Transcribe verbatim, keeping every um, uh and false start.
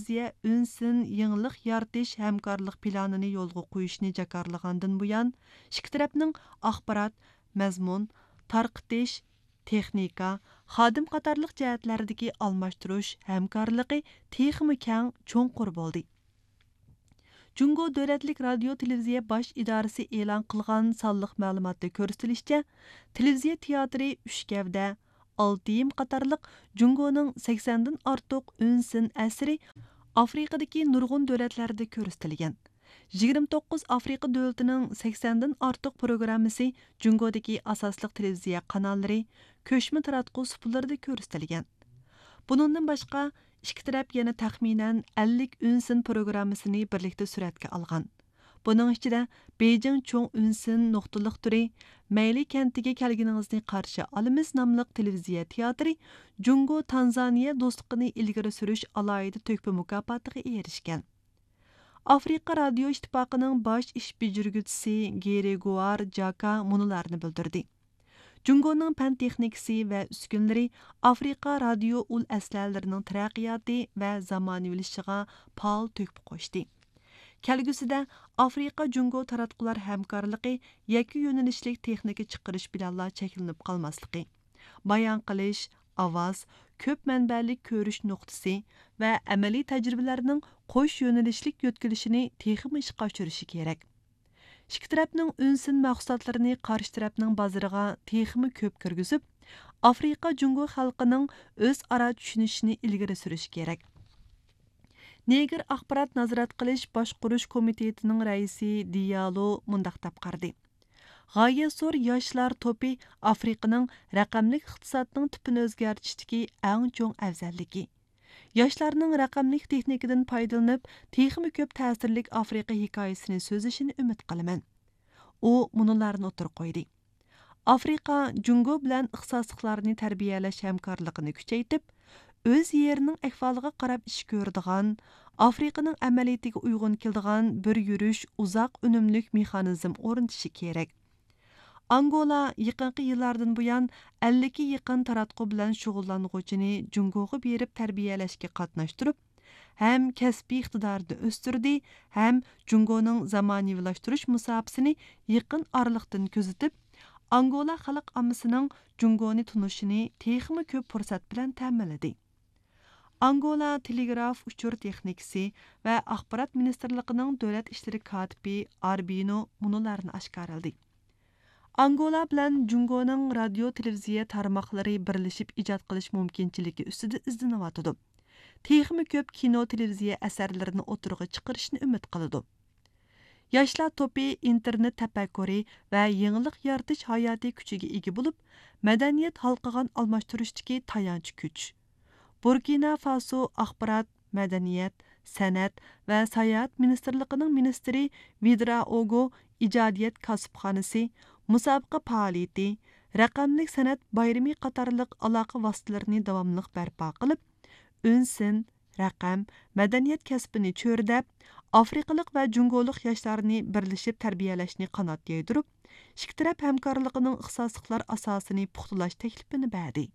ئىنۋېستىتسىيە ئۈنسىن يېڭىلىق يارىتىش ھەمكارلىق پىلانىنى يولغا قويۇشنى جاكارلىغاندىن بۇيان، ئىككى تەرەپنىڭ ئاخبارات، مەزمۇن، تارقىتىش، تېخنىكا، خادىم قاتارلىق جەھەتلەردىكى ئالماشتۇرۇش ھەمكارلىقى تېخىمۇ كەڭ، چوڭقۇر بولدى. جۇڭگو دۆلەتلىك رادىيو تېلېۋىزىيە باش ئىدارىسى ئېلان قىلغان سانلىق مەلۇماتتا كۆرسىتىلىشىچە، تېلېۋىزىيە تىياتىرى ئۈچ گەۋدە، ئالتە يىم قاتارلىق جۇڭگونىڭ سەكسەندىن ئارتۇق ئۈنسىن ئەسىرى ئافرىقىدىكى نۇرغۇن دۆلەتلەردە كۆرسىتىلگەن. يىگىرمە توققۇز ئافرىقا دۆلىتىنىڭ سەكسەندىن ئارتۇق پروگراممىسى جۇڭگودىكى ئاساسلىق تېلېۋىزىيە قاناللىرى، كۆچمە تاراتقۇ سۇپىلىرىدا كۆرسىتىلگەن. بۇنىڭدىن باشقا، ئىككى تەرەپ يەنە تەخمىنەن ئەللىك ئۈنسىن پروگراممىسىنى بىرلىكتە سۈرەتكە ئالغان. بۇنىڭ ئىچىدە بېيجىڭ چوڭ ئۈنسىن نۇقتىلىق تۈرى، مەيلى كەنتىگە كەلگىنىڭىزنى قارشى ئالىمىز ناملىق تېلېۋىزىيە تىياتىرى جۇڭگو تانزانىيە دوستلۇقىنى ئىلگىرى سۈرۈش ئالاھىدە تۆھپە مۇكاپاتىغا ئېرىشكەن. ئافرىقا رادىيو ئىتتىپاقىنىڭ باش ئىش بېجىرگۈچىسى گېرىگوئار جاكا مۇنۇلارنى بىلدۈردى. جۇڭگونىڭ پەن تېخنىكىسى ۋە ئۈسكۈنىلىرى ئافرىقا رادىيو ئۇل ئەسلىھەلىرىنىڭ تەرەققىياتى ۋە زامانىۋىلىشىشىغا پائال تۆھپە قوشتى. كەلگۈسىدە ئافرىقا جۇڭگو تاراتقۇلار ھەمكارلىقى يەككە يۆنىلىشلىك تېخنىكا چىقىرىش بىلەنلا چەكلىنىپ قالماسلىقى، بايان قىلىش، ئاۋاز، كۆپ مەنبەلىك كۆرۈش نۇقتىسى ۋە ئەمەلىي تەجرىبىلەرنىڭ قوش يۆنىلىشلىك يۆتكىلىشىنى تېخىمۇ ئىشقا ئاشۇرۇشى كېرەك. ئىككى تەرەپنىڭ ئۈنسىن مەھسۇلاتلىرىنى قارشى تەرەپنىڭ بازىرىغا تېخىمۇ كۆپ كىرگۈزۈپ، ئافرىقا جۇڭگو خەلقىنىڭ ئۆزئارا چۈشىنىشىنى ئىلگىرى سۈرۈش كېرەك. نېگىر ئاخبارات نازارەت قىلىش باشقۇرۇش كومىتېتىنىڭ رەئىسى دىيالو مۇنداق دەپ قارىدى: غايەت زور ياشلار توپى ئافرىقىنىڭ رەقەملىك ئىقتىسادنىڭ تىپىنى ئۆزگەرتىشتىكى ئەڭ چوڭ ئەۋزەللىكى. ياشلارنىڭ رەقەملىك تېخنىكىدىن پايدىلىنىپ، تېخىمۇ كۆپ تەسىرلىك ئافرىقا ھېكايىسىنى سۆزلىشىنى ئۈمىد قىلىمەن. ئۇ مۇنۇلارنى ئوتتۇرىغا قويدى: ئافرىقا جۇڭگو بىلەن ئىختىساسلىقلارنى تەربىيەلەش ھەمكارلىقىنى كۈچەيتىپ، ئۆز يېرىنىڭ ئەھۋالىغا قاراپ ئىش كۆرىدىغان، ئافرىقىنىڭ ئەمەلىيىتىگە ئۇيغۇن كېلىدىغان بىر يۈرۈش ئۇزاق ئۈنۈملۈك مېخانىزم ئورنىتىشى كېرەك. ئانگولا يېقىنقى يىللاردىن بۇيان ئەللىككە يېقىن تاراتقۇ بىلەن شۇغۇللانغۇچىنى جۇڭگوغا بېرىپ تەربىيەلەشكە قاتناشتۇرۇپ، ھەم كەسپىي ئىقتىدارىنى ئۆستۈردى، ھەم جۇڭگونىڭ زامانىۋىلاشتۇرۇش مۇساپىسىنى يېقىن ئارىلىقتىن كۆزىتىپ، ئانگولا خەلق ئاممىسىنىڭ جۇڭگونى تونۇشىنى تېخىمۇ كۆپ پۇرسەت بىلەن تەمىنلىدى. ئانگولا تېلېگراف ئۇچۇر تېخنىكىسى ۋە ئاخبارات مىنىستىرلىقىنىڭ دۆلەت ئىشلىرى كاتىپى ئاربىنو مۇنۇلارنى ئاشكارىلىدى: ئانگولا بىلەن جۇڭگونىڭ رادىيو تېلېۋىزىيە تارماقلىرى بىرلىشىپ ئىجاد قىلىش مۇمكىنچىلىكى ئۈستىدە ئىزدىنىۋاتىدۇ. تېخىمۇ كۆپ كىنو تېلېۋىزىيە ئەسەرلىرىنى ئوتتۇرىغا چىقىرىشنى ئۈمىد قىلىدۇ. ياشلار توپى ئىنتېرنېت تەپەككۇرى ۋە يېڭىلىق يارىتىش ھاياتىي كۈچىگە ئىگە بولۇپ، مەدەنىيەت ھالقىغان ئالماشتۇرۇشتىكى تايانچ كۈچ. بۇركىنا فاسو ئاخبارات، مەدەنىيەت، سەنئەت ۋە ساياھەت مىنىستىرلىقىنىڭ مىنىستىرى ۋىدرائوگو ئىجادىيەت كاسىپخانىسى، مۇسابىقە پائالىيىتى، رەقەملىك سەنئەت بايرىمى قاتارلىق ئالاقە ۋاسىتىلىرىنى داۋاملىق بەرپا قىلىپ، ئۈنسىن، رەقەم، مەدەنىيەت كەسپىنى چۆرىدەپ، ئافرىقىلىق ۋە جۇڭگولۇق ياشلارنى بىرلىشىپ تەربىيەلەشنى قانات يايدۇرۇپ، ئىككى تەرەپ ھەمكارلىقىنىڭ ئىختىساسلىقلار ئاساسىنى پۇختىلاش تەكلىپىنى بەردى.